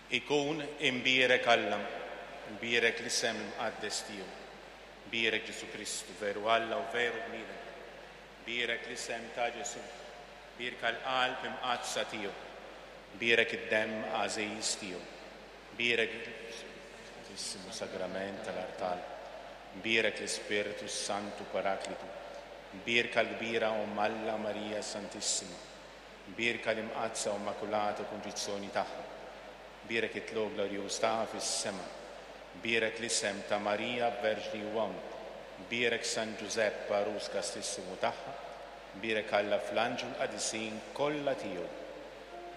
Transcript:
Ikun imbierek Alla, imbierek l-isem imqaddes tiegħu. Bierek Ġesù Kristu, veru Alla u veru bniedem. Bierek l-isem ta' Ġesù, bierka l-qalb imqaddsa tiegħu. Bierek id-demm għażiż tiegħu. Bierek il-Santissimo Sagrament tal-artal. Bierek l-Ispirtu s-Santu Paraklitu. Bierka l-kbira Omm Alla Marija Santissima. Bierka l-Imqaddsa u Immakulata Kunċizzjoni tagħha. Bierek it-tlugħ glorjuż tagħha fis-sema. Bierek l-isem ta' Marija Verġni u Omm. Bierek San Ġużepp għarus kastissimu tagħha. Bierek Alla fl-anġli u l-qadisin kollha tiegħu.